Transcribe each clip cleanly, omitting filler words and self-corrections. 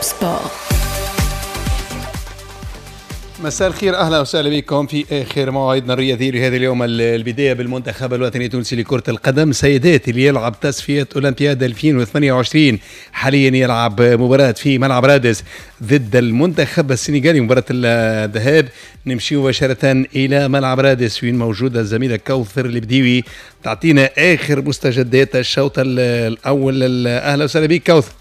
Top Sport. مساء الخير، اهلا وسهلا بكم في اخر مواعيدنا الرياضي لهذا اليوم. البداية بالمنتخب الوطني التونسي لكرة القدم سيدات اللي يلعب تصفية اولمبياد 2028، حاليا يلعب مباراة في ملعب رادس ضد المنتخب السنغالي، مباراة الذهاب. نمشي مباشرة الى ملعب رادس وين موجودة الزميلة كوثر البديوي تعطينا اخر مستجدات الشوط الاول. اهلا وسهلا بك كوثر.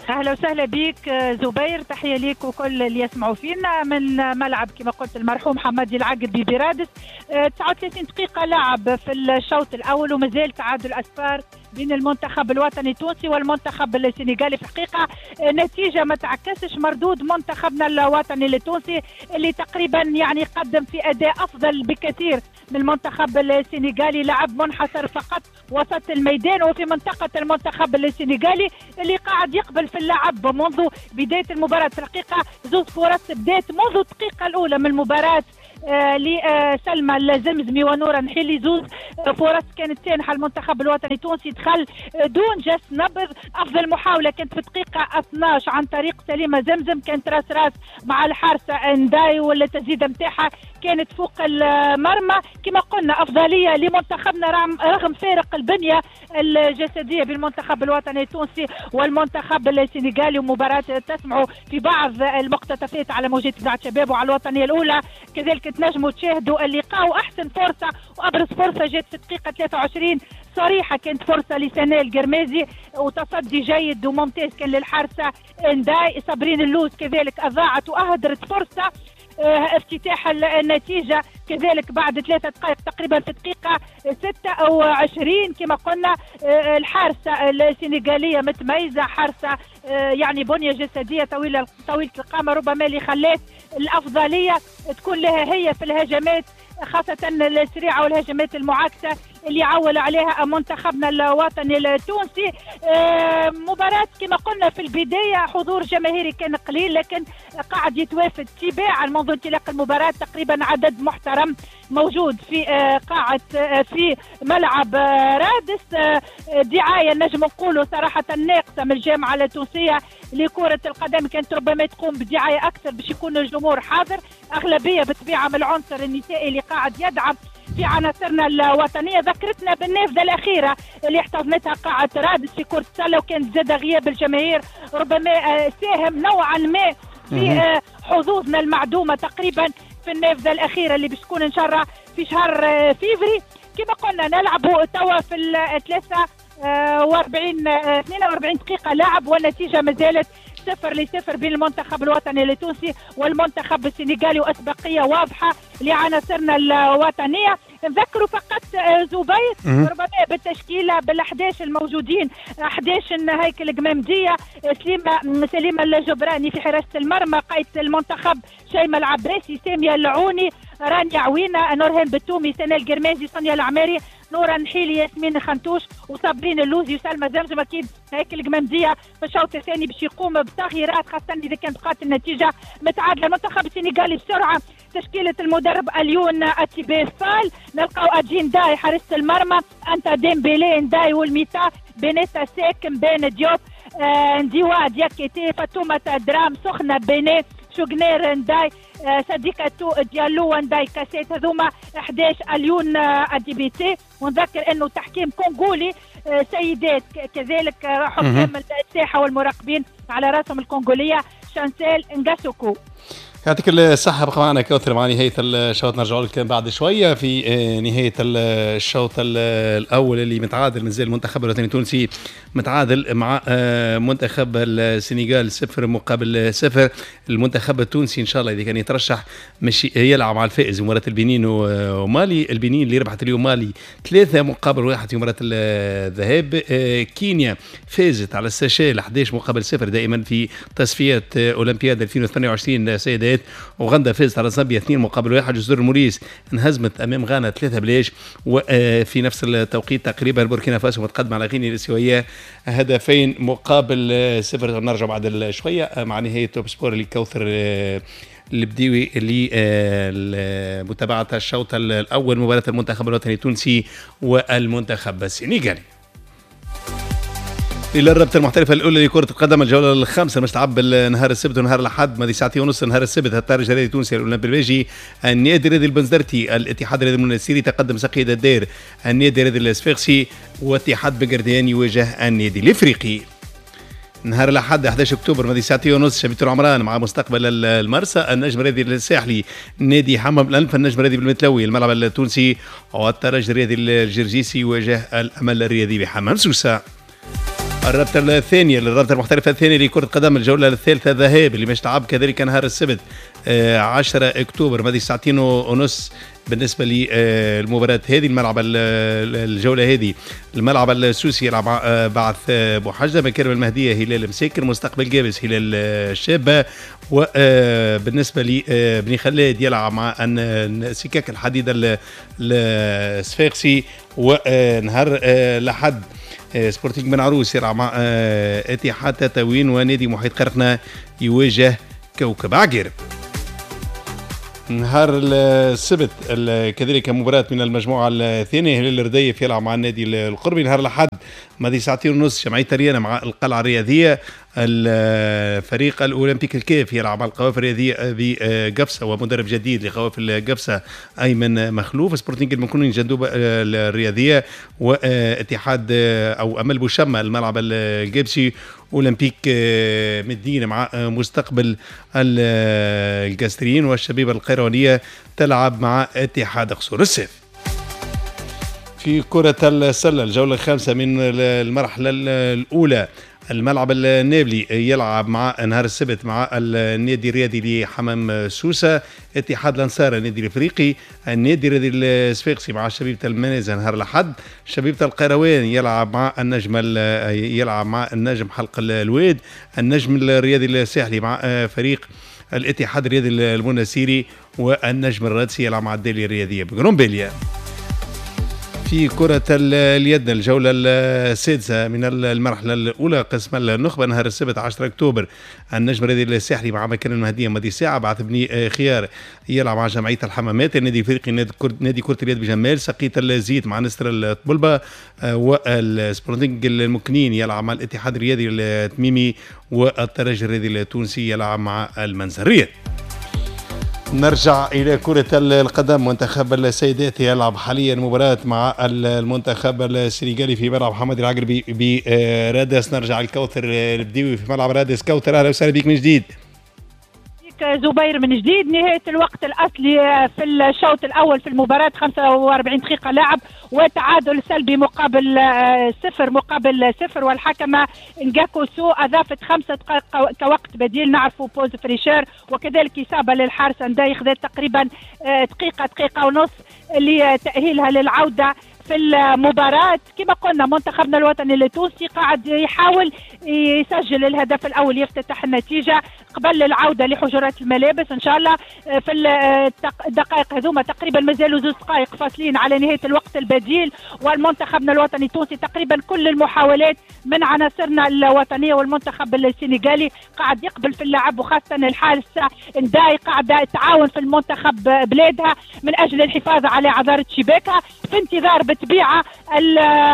اهلا وسهلا بك زبير، تحية ليك وكل اللي يسمعوا فينا من ملعب كما قلت المرحوم حمادي العقربي برادس. 39 دقيقة لعب في الشوط الاول ومازال تعادل اصفار بين المنتخب الوطني التونسي والمنتخب السنغالي. في الحقيقة نتيجة ما تعكسش مردود منتخبنا الوطني التونسي اللي تقريبا يعني قدم في اداء افضل بكثير من المنتخب السنغالي. لعب منحصر فقط وسط الميدان وفي منطقة المنتخب السنغالي اللي قاعد يقبل في اللعب منذ بداية المباراة. في الحقيقة زوج فرص بدات منذ الدقيقة الاولى من المباراة لسلمى الزمزمي ونورا نحيلي، زوز فرص كانت سانحه المنتخب الوطني التونسي، دخل دون جس نبض. افضل محاولة كانت في الدقيقة 12 عن طريق سليمة زمزم، كانت راس راس مع الحارسه انداي والتسديده نتاعها كانت فوق المرمى. كما قلنا افضلية لمنتخبنا رغم فارق البنية الجسدية بالمنتخب الوطني التونسي والمنتخب السنغالي. ومباراة تسمعوا في بعض المقتطفات على موجات اذاعة شباب وعلى الوطنية الاولى، كذلك تنجموا تشاهدوا اللقاء. واحسن فرصة وابرز فرصة جات في الدقيقة 23 صريحه، كانت فرصة لسناء القرمازي وتصدي جيد وممتاز كان للحارسه انداي. صابرين اللوز كذلك اضاعت واهدرت فرصة افتتاح النتيجة كذلك بعد 3 دقائق تقريبا في دقيقة 26. كما قلنا الحارسة السنغالية متميزة، حارسة يعني بنية جسدية طويلة طويلة القامة، ربما اللي خلات الأفضلية تكون لها هي في الهجمات خاصة السريعة والهجمات المعاكسة اللي عول عليها منتخبنا الوطني التونسي. مباراة كما قلنا في البداية حضور جماهيري كان قليل، لكن قاعد يتوافد تباعا منذ انطلاق المباراة. تقريبا عدد محترم موجود في قاعة في ملعب رادس. دعاية نجم نقولوا صراحة ناقصة من الجامعة التونسية لكرة القدم، كانت ربما تقوم بدعاية أكثر باش يكون الجمهور حاضر. أغلبية بالطبيعة من العنصر النسائي اللي قاعد يدعم في عناصرنا الوطنية. ذكرتنا بالنافذه الاخيرة اللي احتضنتها قاعة رادس في كره السلة، وكان زاد غياب الجماهير ربما ساهم نوعا ما في حظوظنا المعدومه تقريبا في النافذة الاخيرة اللي باش تكون ان شاء الله في شهر فيفري. كما قلنا نلعبوا توا في ال 43 42 دقيقة لعب، والنتيجة ما زالت 0-0 بين المنتخب الوطني التونسي والمنتخب السنغالي، واسبقيه واضحة لعناصرنا الوطنية. نذكروا فقط زبير ربما بالتشكيله بال11 الموجودين، 11 هيكل قمامديه، سليمة الجبراني في حراسة المرمى، قائده المنتخب شيماء العباسي، سامية العوني، رانيا عوينه، نورهان بتومي، سناء القرمازي، سونيا العماري، نورا نحيلي، ياسمين خنتوش، وصابرين اللوزي، وسلمى زمزم. اكيد هيكل القمامديه في الشوط الثاني باش يقوم بتغييرات خاصة اذا كانت بقات النتيجة متعادله. المنتخب السنغالي بسرعة تشكيله المدرب اليون اتيبي فال، نلقاو اجين داي حارس المرمى، انتا ديمبيلي نداي والميتا، بنيتا ساك، مبان ديوب، نديوا دياكيتي، فاتومة درام، سخنة بيني، شوغنير نداي، صديقة ديالو ونداي كاسيت. هذوما 11 اليون اديبيتي. ونذكر انه تحكيم كونغولي سيدات كذلك حكام الساحة والمراقبين على راسهم الكونغوليه شانسيل نغاسوكو. يعطيك الصحة، بقى معنا كوثر مع نهاية الشوط، نرجع لك بعد شوية في نهاية الشوط الأول اللي متعادل، مازال المنتخب الوطني التونسي متعادل مع منتخب السنغال 0-0. المنتخب التونسي إن شاء الله إذا كان يترشح مش يلعب مع الفائز مباراة البنين ومالي. البنين اللي ربحت اليوم مالي 3-1 في مباراة الذهاب. كينيا فازت على السيشيل 11-0 دائما في تصفيات أولمبياد 2028 سيدات. اوغندا فازت على زامبيا 2-1. جزر الموريس انهزمت امام غانا 3-0. وفي نفس التوقيت تقريبا بوركينا فاسو متقدمة على غينيا الاستوائيه 2-0. نرجع بعد شوية مع نهاية Top Sport لكوثر البديوي لمتابعة الشوط الاول مباراة المنتخب الوطني التونسي والمنتخب السنغالي. الى الرابطة المحترفه الاولى لكرة القدم، الجولة الخامسة مش تلعب نهار السبت ونهار الاحد. ماضي ساعتين ونص نهار السبت الترجي الرياضي التونسي الاولمبي الباجي، النادي الرياضي البنزرتي، الاتحاد الرياضي المنستيري، تقدم ساقية الدير، النادي الرياضي الصفاقسي، واتحاد بنقردان يواجه النادي الافريقي. نهار الاحد 11 اكتوبر ماضي ساعتين ونص شبيبة العمران مع مستقبل المرسى، النجم الرياضي الساحلي، نادي حمام الانف، النجم الرياضي بالمتلوي، الملعب التونسي، والترجي الرياضي الجرجيسي يواجه الامل الرياضي بحمام سوسة. الرابطة الثانية للرابطة المحترفه الثانية لكرة القدم، الجولة الثالثة ذهاب اللي باش تلعب كذلك نهار السبت 10 اكتوبر ماضي ساعتين ونص. بالنسبة للمباراة هذه الملعب الجولة هذه الملعب السوسي يلعب بعث بوحجه، مكارم المهدية هلال مساكر، مستقبل قابس هلال الشابة، وبالنسبة لبني خلاد يلعب مع سكاك الحديد الصفاقسي. ونهار الاحد سبورتينغ بن عروس يلعب مع اتحاد تطاوين، ونادي محيط قرقنة يواجه كوكب عقير. نهار السبت كذلك مباراة من المجموعة الثانية، هلال الرديف يلعب مع النادي القربي. نهار الأحد ماضي ساعتين ونص جمعية ريانا مع القلعة الرياضية، الفريق الأولمبيك الكاف يلعب مع القوافل الرياضية بقفصة ومدرب جديد لقوافل قفصة أيمن مخلوف، سبورتينغ المكونين جندوبة الرياضية، واتحاد أو أمل بوشمة الملعب القابسي، أولمبيك مدينة مع مستقبل القصرين، والشبيبة القيروانية تلعب مع اتحاد قصور السيف. في كرة السلة الجولة الخامسة من المرحلة الأولى، الملعب النابلي يلعب مع نهار السبت مع النادي الرياضي لحمام سوسة، اتحاد الأنصار النادي الافريقي، النادي الرياضي الصفاقسي مع شبيبة المنازل نهار الأحد، شبيبة القيروان يلعب مع النجم يلعب مع النجم حلق الواد، النجم الرياضي الساحلي مع فريق الاتحاد الرياضي المنستيري، والنجم الرادسي يلعب مع الدالية الرياضية بقرنبيليا. في كرة اليد الجولة السادسة من المرحلة الأولى قسم النخبة نهار السبت 10 أكتوبر، النجم الرياضي الساحلي مع مكان المهدية ماضي ساعة، بعث بني خيار يلعب مع جمعية الحمامات، النادي الافريقي نادي كرة اليد بجمال، سقية الزيت مع نسر الطبلبة، والسبورتينغ المكنين يلعب مع الاتحاد الرياضي التميمي، والترجي الرياضي التونسي يلعب مع المنزرية. نرجع إلى كرة القدم، منتخب السيدات يلعب حاليا مباراة مع المنتخب السنغالي في ملعب حمادي العقربي برادس. نرجع الكوثر البديوي في ملعب رادس. كوثر أهلا وسهلا بك من جديد. زبير من جديد، نهاية الوقت الأصلي في الشوط الأول في المباراة 45 دقيقة لعب، وتعادل سلبي مقابل صفر مقابل صفر، والحكمة نجاكوسو أضافت 5 دقائق كوقت بديل، نعرفوا pause fraîcheur، وكذلك إصابة للحارس انداي خذت تقريبا دقيقة دقيقة ونص لتأهيلها للعودة في المباراة. كما قلنا منتخبنا الوطني التونسي قاعد يحاول يسجل الهدف الأول، يفتتح النتيجة قبل العودة لحجرات الملابس إن شاء الله في الدقائق هذوما. تقريبا مازالوا 2 دقائق فاصلين على نهاية الوقت البديل، والمنتخبنا الوطني التونسي تقريبا كل المحاولات من عناصرنا الوطنية، والمنتخب السنغالي قاعد يقبل في اللعب، وخاصة الحارس انداي قاعدة تعاون في المنتخب بلادها من أجل الحفاظ على عذارة شباكها، في انتظار بالطبيعة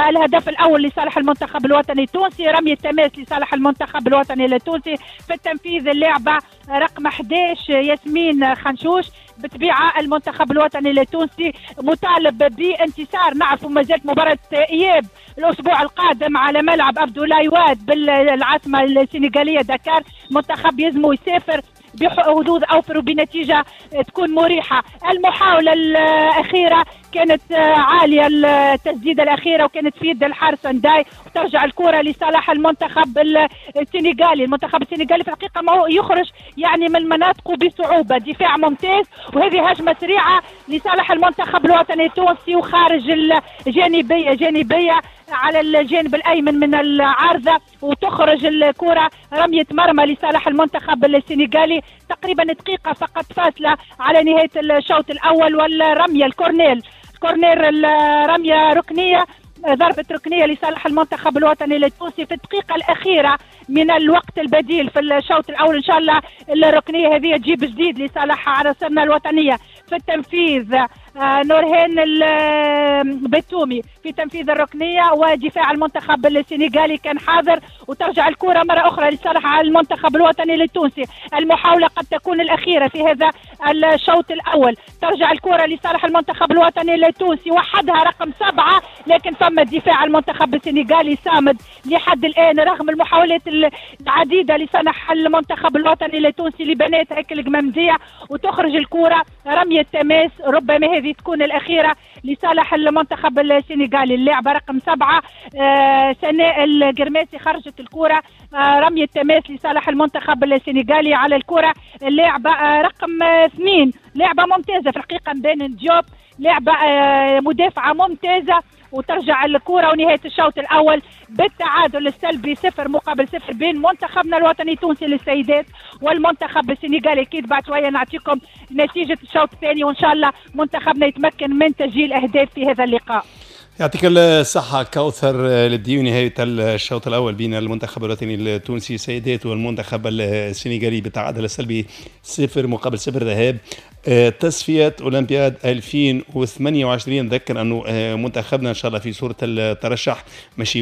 الهدف الأول لصالح المنتخب الوطني التونسي، رمي التماس لصالح المنتخب الوطني التونسي. في التنفيذ اللعبة رقم 11 ياسمين خنشوش. بالطبيعة المنتخب الوطني التونسي مطالب بانتصار، نعرفوا ما زالت مباراة إياب الأسبوع القادم على ملعب أبدولاي واد بالعاصمة السنغالية دكار، منتخب يزمو يسافر بحظوظ أوفر وبنتيجة تكون مريحة. المحاولة الأخيرة كانت عالية، التسديدة الأخيرة، وكانت في يد الحارس انداي، وترجع الكرة لصالح المنتخب السنغالي. المنتخب السنغالي في الحقيقة ما هو يخرج يعني من مناطقه بصعوبة، دفاع ممتاز، وهذه هجمة سريعة لصالح المنتخب الوطني التونسي وخارج الجانبية، جانبية على الجانب الأيمن من العارضة، وتخرج الكرة رمية مرمى لصالح المنتخب السنغالي. تقريبا دقيقة فقط فاصلة على نهاية الشوط الأول، والرمية ال corner، corner الرمية ركنية، ضربة ركنية لصالح المنتخب الوطني التونسي في الدقيقة الأخيرة من الوقت البديل في الشوط الأول. إن شاء الله الركنية هذه تجيب جديد لصالح عناصرنا الوطنية. في التنفيذ نورهان البتومي في تنفيذ الركنيه، ودفاع المنتخب السنغالي كان حاضر، وترجع الكره مرة اخرى لصالح المنتخب الوطني التونسي. المحاولة قد تكون الاخيرة في هذا الشوط الاول. ترجع الكره لصالح المنتخب الوطني التونسي وحدها رقم 7، لكن فما دفاع المنتخب السنغالي صامد لحد الان رغم المحاولات العديدة لصالح المنتخب الوطني التونسي لبنات هيك القمامديه، وتخرج الكره رمية تماس، ربما هذه تكون الاخيرة لصالح المنتخب السنغالي. اللاعبه رقم 7 سناء القرماسي خرجت الكره، رمية تماس لصالح المنتخب السنغالي على الكره. اللاعبه رقم 2 لاعبه ممتازة في الحقيقة، مبان ديوب، لاعبه مدافعه ممتازة، وترجع الكرة. ونهاية الشوط الأول بالتعادل السلبي 0-0 بين منتخبنا الوطني التونسي للسيدات والمنتخب السنغالي. أكيد بعد شوية نعطيكم نتيجة الشوط الثاني، وإن شاء الله منتخبنا يتمكن من تسجيل أهداف في هذا اللقاء. يعطيك الصحة كوثر البديوي. نهاية الشوط الأول بين المنتخب الوطني التونسي سيدات والمنتخب السنغالي بالتعادل السلبي 0-0، ذهاب تصفية أولمبياد 2028. نذكر أنه منتخبنا إن شاء الله في صورة الترشح ماشي